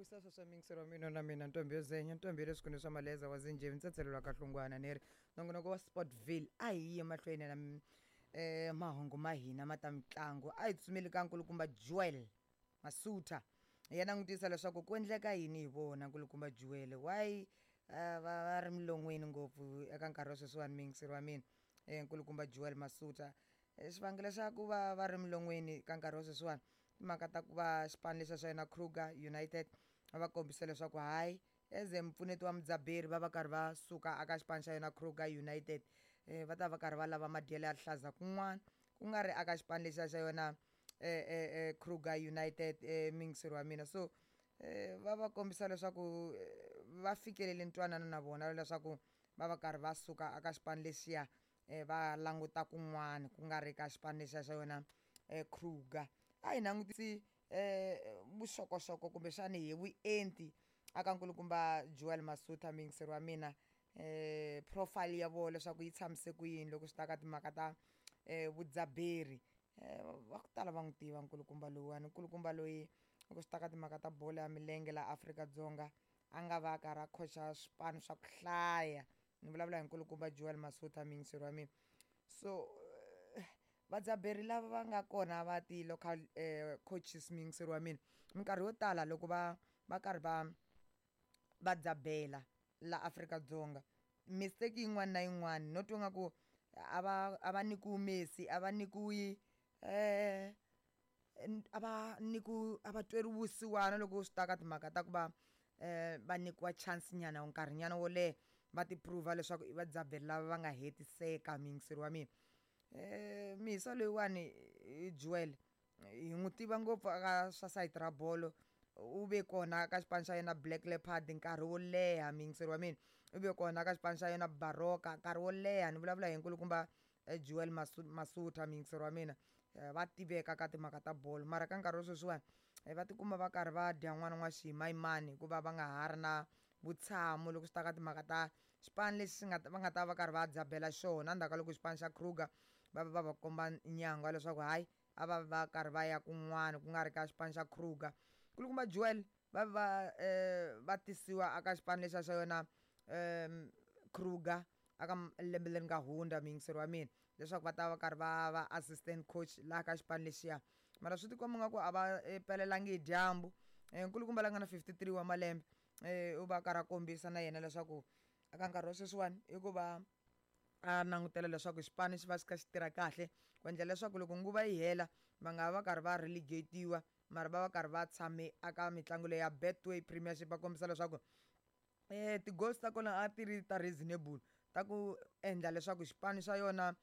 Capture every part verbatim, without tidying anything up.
Vuyisa sweswo miyingiseri wa mina na mina ntombi yo zenya ntombi ya le swikhundleni swa maleza wa zinjhevi ntsatselelo wa kahlungwana ni ri nongonoko wa Sportville a hi yi mahlweni na um mahungu ma hina ma ta mitlangu. A hi tsutsumeli ka nkulukumba Joel Masutha hi ya langutisa leswaku ku endleka yini hi vona nkulukumba Joel why uh, va va ri milon'weni ngopfu eka nkarhi wa sweswiwani muyingiseri wa mina um nkulukumba Joel Masutha. Xivangelo xa ku va va ri milon'weni ka nkarhi wa sweswiwani timhaka ta ku va xipano lexiya xa yona Kruger United va va kombisa leswaku hayi as mpfuneti wa mudzaberi va va karhi va suka aka xipano xa yona Kruger United um va ta va karhi va lava madyelo ya rihlaza kun'wana ku nga ri aka xipano lexiya xa yona um Kruger United um muyingiseri wa mina. So um va va kombisa leswaku va fikelele ntwanano na vona leswaku va va karhi va suka aka xipano lexiya um va languta kun'wana ku nga ri ka xipano lexiya xa yona um Kruger. A hi langutisi um vuxokoxoko kumbexani hi vuenti aka nkulukumba Joel Masutha muyingiseri wa mina um profile ya vona leswaku yi tshamise ku yini loko swi ta ka timhaka ta um vudzaberi. um Va ku tala va n'wi tiva nkulukumba lowuwani, nkulukumba loyi loko swi ta ka timhaka ta bolo ya milenge laha Afrika-Dzonga a nga va a karhi a khocha swipano swa ku hlaya. Ni vulavula hi nkulukumba Joel Masutha muyingiseri wa mina. So vadzaberi lava va nga kona va ti-local um coaches muyingiseri wa mina minkarhi yo tala loko va va karhi va va dzabela la Afrika-Dzonga mistake yin'wana na yin'wana no twa nga ku a va a va nyikiwi Messi a va nyikiwi um a va nyikiwi a va tweriwi vusiwana loko swi ta ka timhaka ta ku va um va nyikiwa chance nyana nkarhi nyana wo leha va ti prove leswaku i vadzaberi lava va nga hetiseka muyingiseri wa mina. Um mihisa loyiwani Joel hi n'wi tiva ngopfu aka swa sayiti ra bolo u ve kona ka xipano xa yena Black Leopard nkarhi wo leha muyingiseri wa mina, u ve kona ka xipano xa yena Baroka nkarhi wo leha. Ni vulavula hi nkulukumba Joel Masutha muyingiseri wa mina. Va tiveka ka timhaka ta bolo mara ka nkarhi wa sweswiwani va tikuma va karhi va dya n'wana n'wa ximayimani hikuva va nga ha ri na vutshamo loko swi ta ka timhaka ta xipano lexi nga va nga ta va karhi va dzabela xona endzhaku ka loko xipano xa Kruger va va va komba nyangwa leswaku hayi a va va karhi va ya kun'wana ku nga ri ka xipano xa Kruger. Nkulukumba Joel va va um va tisiwa aka xipano lexiya xa yona um Kruger aka lembe leri nga hundza muyingiseri wa mina leswaku va ta va karhi va va assistant coach laha ka xipano lexiya mara swi tikomba nga ku a va pelelangi hi dyambu. Nkulukumba la nga na fifty three wa malembe um u va karhi a kombisa na yena leswaku eka nkarhi wa sweswiwani i ku va a langutela leswaku xipano xi va xi kha xi tirha kahle ku endlela leswaku loko nguva yi hela va nga va karhi va relegate-iwa mara va va karhi va tshame aka mitlangu leyi ya Betway Premiership. Va kombisa leswaku um ti-goals ta kona a ti ri ta reasonable ta ku endla leswaku xipano xa yona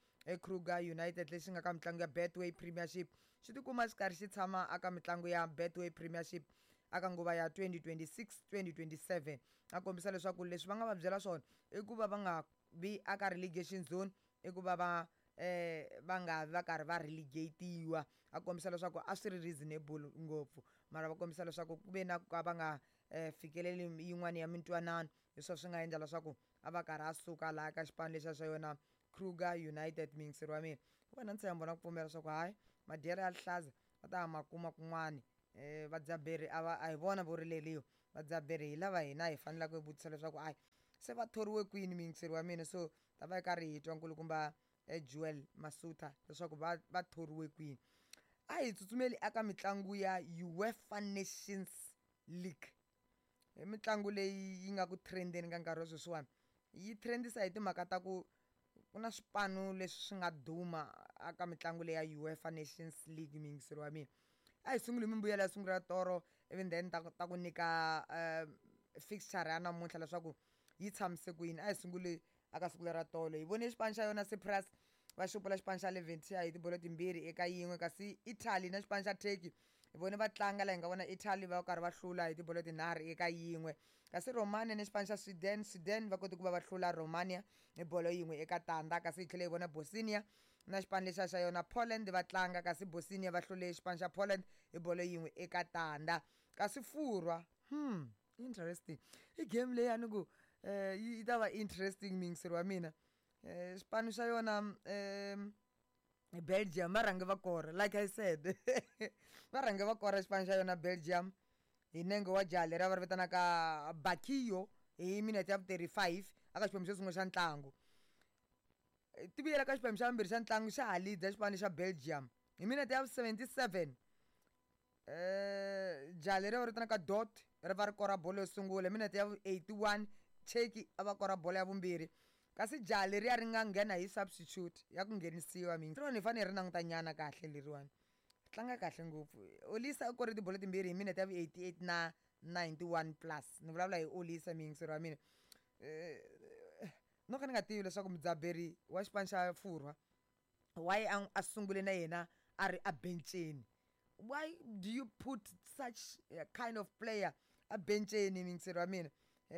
Kruger United lexi nga ka mitlangu ya Betway Premiership xi tikuma xi karhi xi tshama aka mitlangu ya Betway Premiership aka nguva ya twenty twenty six twenty twenty seven. A kombisa leswaku leswi va nga va byela swona i ku va va nga vi aka relegation zone, i ku va va um va nga vi va karhi va relegate-iwa. A kombisa leswaku a swi ri reasonable ngopfu mara va kombisa leswaku ku ve na ku ka va nga um fikeleli yin'wani ya mintwanano hi swona swi nga endla leswaku a va karhi a suka laha ka xipano lexiya xa yona Kruger United muyingiseri wa mina. Vona ntshembo na ku pfumela leswaku hayi madyelo ya rihlaza va ta ma kuma kun'wani um vadzaberi a va a hi vona vo rileriwa vadzaberi hi lava hina hi faneleke hi vutisa leswaku hayi se va thoriwe kwini muyingiseri wa mina. So ta va hi karhi hi twa nkulukumba Joel Masutha leswaku va va thoriwe kwini. A hi tsutsumeli aka mitlangu ya UEFA Nations League, i mitlangu leyi yi nga ku trendeni ka nkarhi wa sweswiwani yi trendisa hi timhaka ta ku ku na swipano leswi swi nga duma aka mitlangu leyi ya UEFA Nations League muyingiseri wa mina. A hi sunguli hi mimbuyelo ya siku ra toro ivi then ta ta ku nyika um fixture ya namuntlha leswaku yi tshamise ku yini. A hi sunguli aka siku lera tolo hi vone xipano xa yona Cyprus va xupula xipano xa Leventia hi tibolo timbirhi eka yin'we, kasi Italy na xipano xa Turkey hi vone va tlanga laha hi nga vona Italy va karhi va hlula hi tibolo tinharhu eka yin'we, kasi Romania ni xipano xa Sweden, Sweden va kote ku va va hlula Romania hi bolo yin'we eka tandza, kasi hi tlhela hi vona Bosnia na xipano lexiya xa yona Poland va tlanga kasi Bosnia va hlule xipano xa Poland hi bolo yin'we eka tandza. Kasi Furwa hmm interesting i game leyi a ni ku um yi ta va interesting muyingiseri wa mina. um xipano xa yona um Belgium va rhange va kora like I said va rhange va kora xipano xa yona Belgium hi nenge wa jaha leri va ri vitanaka Bakiyo hi minete ya vu thirty-five aka xiphemu xo sungula xa ntlangu. Ti vuyela ka xiphemu xa vumbirhi xa ntlangu xa ha lead xipano xa Belgium hi minete ya vu seventy-seven. Eh jaha leri va ri vitanaka Dot ri va ri kora bolo yo sungula hi minete ya vu eighty-one, Cheki a va kora bolo ya vumbirhi, kasi jaha leriya ri nga nghena hi substitute ya ku nghenisiwa mingi hi fanele hi ri languta nyana kahle leriwani, ri tlanga kahle ngopfu. Olisa u kore tibolo timbirhi hi minete ya vu eighty-eight na ninety-one plus, ni vulavula hi Olisa muyingiseri wa mina. No ka ni nga tivi leswaku mudzaberi wa xipano xa Furwa why a a sungule na yena a ri a benceni. Why do you put such a kind of player a benceni muyingiseri wa mina?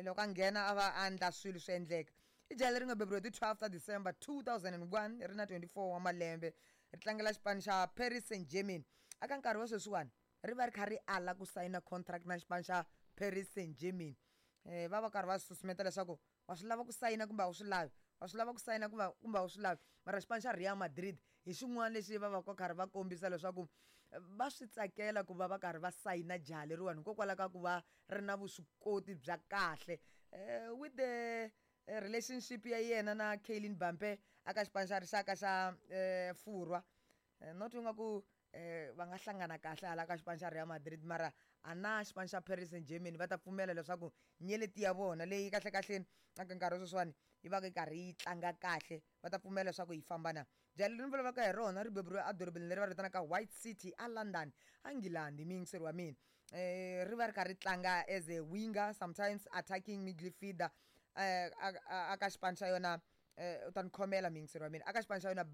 Loko a nghena a va a endla swilo swi endleka. I jaha leri nga beburiwa hi ti twelve ta December two thousand and one, ri na twenty-four wa malembe, ri tlangela xipano xa Paris Saint-Germain. Aka nkarhi wa sweswiwani ri va ri kha ri ala ku sayina contract na xipano xa Paris Saint-Germain. Eh va va karhi va susumeta leswaku wa swi lava ku sayina kumbe a wu swi lavi, wa swi lava ku sayina kumbe kumbe a wu swi lavi. Mara xipano xa Real Madrid hi xin'wana lexi va va ka karhi va kombisa leswaku va swi tsakela ku va va karhi va sayina jaha leriwani hikokwalaho ka ku va ri na vuswikoti bya kahle. Eh with the relationship ya yena na Kylian Mbappe aka xipano xa rixaka xa eh Furwa, not ingaku eh va nga hlangana kahle hala ka xipano xa Real Madrid, mara a na xipano xa Paris Saint-Germain va ta pfumela leswaku nyeleti ya vona leyi kahle kahleni aka nkarhi wa sweswiwani yi va yi karhi yi tlanga kahle, va ta pfumela leswaku yi famba na. Jaha leri ni vulavulaka hi rona ri beburiwe edorobeni leri va ri vitanaka White City a London a Nghilandhi muyingiseri wa mina. Eh ri va ri karhi ri tlanga as a winger, sometimes attacking midfielder eh aka xipano xa yona, u ta ni khomela muyingiseri wa mina, aka xipano xa yona.